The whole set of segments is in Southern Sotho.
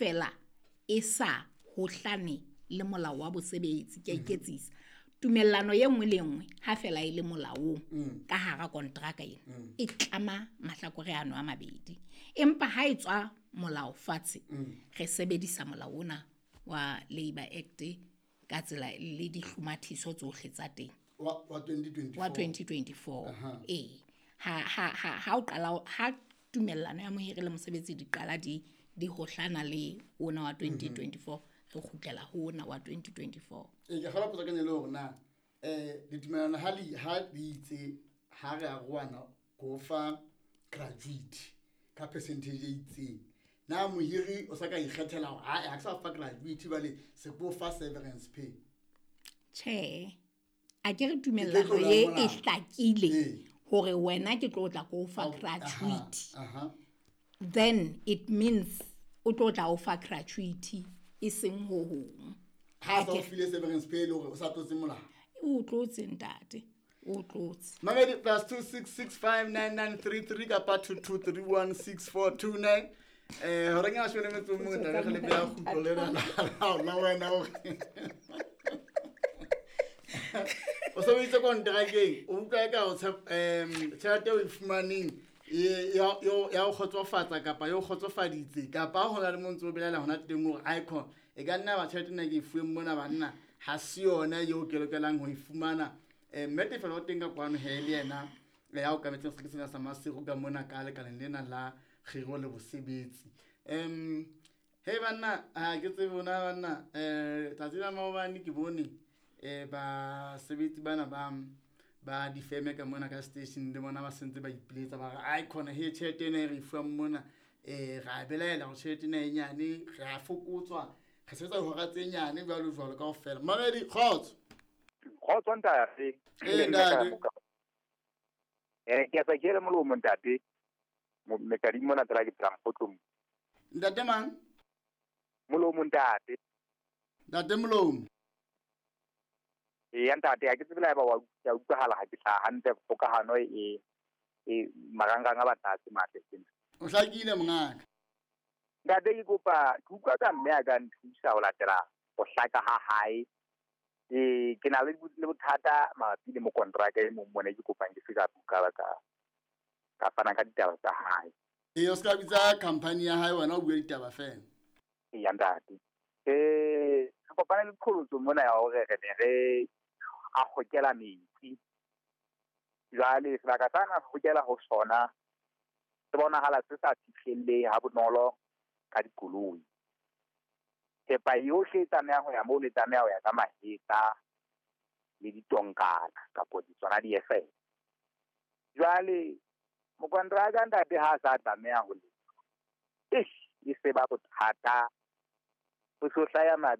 fela e sa hohlane le molao wa bosebetsi, ke a iketsisa. Tumellano ye nngwe le nngwe ha fela e le molaong ka hara kontraka ena e tlama mahlakore ano a mabedi. Empa ha e tswa molao fatshe, re sebedisa molao ona wa Labour Act ka tsela le dihlomathiso tsohle tsa teng. Wa 2024. Wa 2024. Ee. Ha o qala, ha tumellano ya mohiri le mosebetsi di qala di hohlana le ona wa 2024, re kgutlela ho ona wa 2024. Ee, ke kgolwa potso ka le hore na ditumellano ha di itse ha re arohana go fa gratuity ka percentage e itseng, na mohiri o sa ka ikgethela hore ha ke sa fa gratuity bale se ko fa severance pay? Tjhe, a ke re tumellano ye e hlakile hore wena ke tlo tla ko fa gratuity. Then it means o tlo tla o fa gratuity e seng ho hong. Ha sa o file severance pay le hore o sa tlotse molao. O tlotse ntate, o tlotse. Mamedi +266599933 kapa 22316429. Hore ke a shwele metso mong tla re le beha kgutlo lena la wena hore o sebeditse kontrakeng, o utlwa eka o tjhelete o e fumaneng ya o kgotsofatsa kapa yo kgotsofaditse, kapa ho na le mo ntse o belaela hona teng hore icon e ka nna ba tjhelete nna ke e fuweng mona banna ha se yona eo ke lokelang ho e fumana. Mme Tefelo o teng ka kwano he le yena ya o kametseng sekete sena sa Maseru ka mona ka lekaleng lena la kgiro le bosebetsi. He banna, ha ke tsebe bona banna, tsatsi la maobane ke bone basebetsi bana ba difeme ka mona ka station le bona ba sentse ba ipiletsa ba re icon he tjhelete ena e re fuwang mona, ra belaela hore tjhelete ena e nyane, re a fokotswa, re sebetsa dihora tse nyane jwalo jwalo kaofela. Mamedi, kgotso. Kgotso ntate. Ee ntate. Ke a sa kele molomo ntate. Mekadimo mona tsela ke tsela mpotlong. Ntate mang? Molomo ntate. Ntate Molomo. Ee ntate, ha ke tsebe la ba wa utlwahala ha ke hlaha hantle kgokahano e marangrang a batla se matle sena. O hlakile mongaka. Ntate ke kopa ke utlwa ka mme a ka nthusa ho latela ho hlaka ha hae. Ke na le bothata mabapi le mokontraka e mong mona ke kopang ke se ka buka ka fana ka ditaba tsa hae. Ee, o ska bitsa company ya hae wena o bue ditaba fela. Ee ntate. Re kopana le qholotso mona ya hore re ne re a hokela metsi. Jwale sebaka sa na hokela ho sona se bonahala se sa fihlelle ha bonolo ka dikoloi. Thepa yohle e tlameha ho ya moo, le tlameha ho ya ka mahetla le ditonkana kapo tsona di-FM. Jwale mokontraka ntate ha sa tlameha ho lefa, e se ba bothata. Ho so hlaya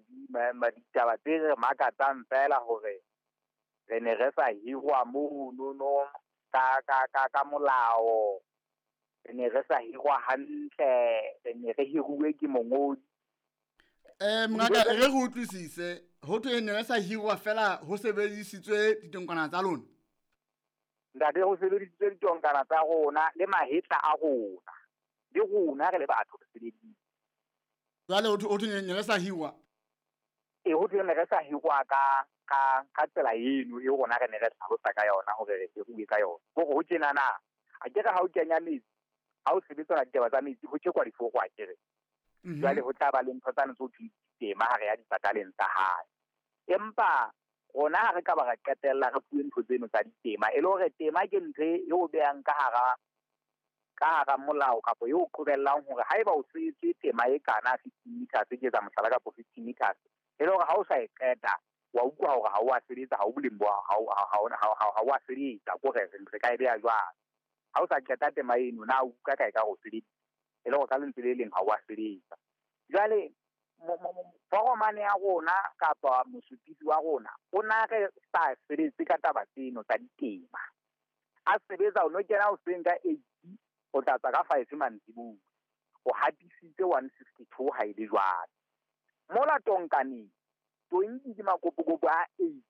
ditaba tse re makatsang fela hore re ne re sa hirwa mono ka molao, re ne re sa hirwa hantle, re ne re hiruwe ke mongodi. Mongaka, re go utlwisise, ho thwe ne re sa hirwa fela ho sebedisitswe ditonkana tsa lona. Ntate, ho sebedisitswe ditonkana tsa rona le mahetla a rona, le rona re le batho re sebeditse. Jwale ho thwe ne re sa hirwa? Ee, ho thwe ne re sa hirwa ka tsela eno e rona re ne re hlalosa ka yona hore re hiruwe ka yona. Hore ho tjena na, a ke re ha o kenya metsi, ha o sebetsana ditaba tsa metsi, ho tjekwa diforo a ke re. Jwale ho tla ba le ntho tsane tse ho thweng ditema ha re ya dipataleng tsa hae. Empa rona ha re ka ba ra qetella re fuwe ntho tseno tsa ditema, e le hore tema ke ntho e o behang ka hara molao kapa e o qobellang hore haeba o setse tema e kana 15 meters, ke etsa mohlala kapo 15 meters, e le hore ha o sa e qeta wa utlwa hore ha o a sebetsa, ha o boleng bo ha o a sebetsa, ko re re ka e beha jwang. Ha o sa qeta tema eno na o utlwa ka e ka ho sebetsa, e le hore ka lentswe le leng ha o a sebetsa. Jwale foromane ya rona kapa mosupisi wa rona o na re sa sebetse ka taba tseno tsa ditema. A sebetsa o no kena hoseng ka 8 o tla tswa ka 5 mantsibuya, o hatisitse 162 ha e le jwalo. Mola tonkaneng tonki ke makopokopo a 8